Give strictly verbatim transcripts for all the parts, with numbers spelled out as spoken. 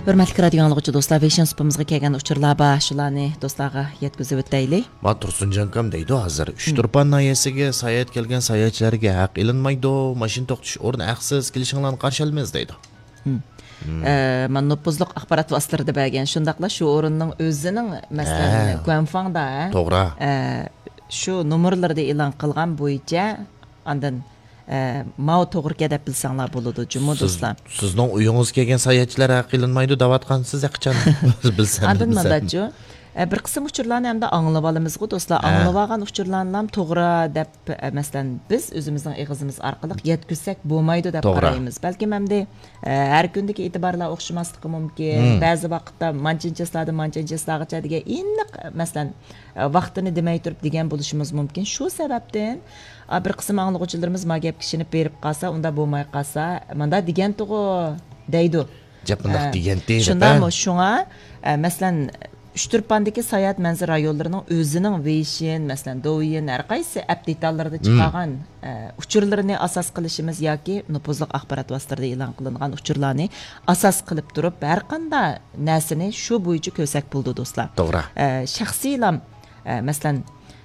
ھۆرمەتلىك رادىيو ئاڭلىغۇچى دوستلار، ۋېيشىن سۇپىمىزغا كەلگەن ئۇچۇرلار بار، شۇلارنى دوستلارغا يەتكۈزۈۋېتەيلى. ما تۇرسۇنجان ئاكام دەيدۇ ھازىر، ئۇچتۇرپان ناھىيەسىگە ساياھەت كەلگەن ساياھەتچىلەرگە ھەق ئېلىنمايدۇ، ماشىنا توختىتىش ئورنى ھەقسىز، كېلىشىڭلارنى قارشى ئالىمىز دەيدۇ. ئە، مانا نوپۇزلۇق ئاخبارات ۋاسىتىلىرىدە بەرگەن، شۇنداقلا شۇ ئورۇننىڭ ئۆزىنىڭ، مەسىلەن، ھە. گۇەنفاڭدا، ھە؟ توغرا. ئە، شۇ نومۇرلىرىدا ئېلان قىلغان بويىچە، ئاندىن، ئە، ماۋۇ توغرىكەن دەپ بىلسەڭلار بولىدۇ، جۇمۇ سىز، دوستلار. سىزنىڭ ئۆيىڭىزگە كەلگەن ساياھەتچىلەر ھەق ئېلىنمايدۇ دەۋاتقانسىز، ھەقىچان بىلسەم، ئاندىن بىلسەم. مۇنداچۇ، ئە، بىر قىسىم ئۇچۇرلارنى ئەمدى ئاڭلىۋالىمىزغۇ، دوستلار. ھە. ئاڭلىۋالغان ئۇچۇرلارنىلام توغرا دەپ، ئە، مەسىلەن، بىز ئۆزىمىزنىڭ ئېغىزىمىز ئارقىلىق يەتكۈزسەك بولمايدۇ دەپ توغرا. قارايمىز. بەلكىم ئەمدى، ئە، ھەر كۈندىكى ئېتىبارلار ئوخشىماسلىقى مۇمكىن. مم. بەزى ۋاقىتتا مانچىنچە چىسلادىن مانچىنچە چىسلاغىچە دېگەن ئېنىق، مەسىلەن، ئە، ۋاقتىنى دېمەي تۇرۇپ دېگەن بولۇشىمىز مۇمكىن. شۇ سەۋەبتىن، ئا، بىر قىسىم ئاڭلىغۇچىلىرىمىز ما گەپكە ئىشىنىپ بېرىپ قالسا، ئۇنداق بولماي قالسا، مۇنداق دېگەنتىغۇ دەيدۇ. گەپ مۇنداق ئە، دېگەنتى دەپ، شۇنداقمۇ؟ ھە؟ شۇڭا، ئە، مەسىلەن، ئۇچتۇرپاندىكى ساياھەت مەنزىرە رايونلىرىنىڭ ئۆزىنىڭ ۋېيشىن، مەسىلەن، دوۋيىن، ھەر قايسى ئەپ دېتاللىرىدا مم. چىقارغان، ئە، ئۇچۇرلىرىنى ئاساس قىلىشىمىز ياكى نوپۇزلۇق ئاخبارات ۋاسىتىلىرىدا ئېلان قىلىنغان ئۇچۇرلارنى ئاساس قىلىپ تۇرۇپ، ھەر قانداق نەرسىنى شۇ بويىچە كۆرسەك بولىدۇ، دوستلار. توغرا. ئە، شەخسىيلام، ئە، مەسىلەن،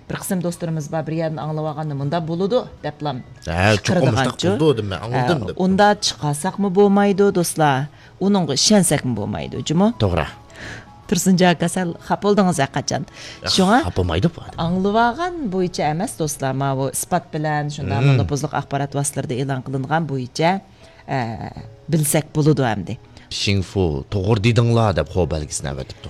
بىر قىسىم دوستلىرىمىز بار، بىر يەردىن ئاڭلىۋالغاندا مۇنداق بولىدۇ دەپلا ھە، چوقۇم مۇشۇنداق قىلىدىغانچۇ. بولىدۇ دېمە، ئاڭلىدىم ئە، دەپ. ئۇنداق چىقارساقمۇ بولمايدۇ، دوستلار. ئۇنىڭغا ئىشەنسەكمۇ بولمايدۇ، جۇمۇ. توغرا. تۇرسۇنجان ئاكا، سەل خاپا بولدىڭىز ھەقىچان. ياق، شۇڭا خاپا بولمايدۇ بۇ ئادەم. ئاڭلىۋالغان بويىچە ئەمەس، دوستلار، ماۋۇ ئىسپات بىلەن، شۇنداقمۇ مم. نوپۇزلۇق ئاخبارات ۋاسىتىلىرىدە ئېلان قىلىنغان بويىچە، ئە، بىلسەك بولىدۇ ئەمدى. شىڭفۇ، توغرا دېدىڭلار دەپ خو بەلگىسىنى ئەۋەتىپتۇ.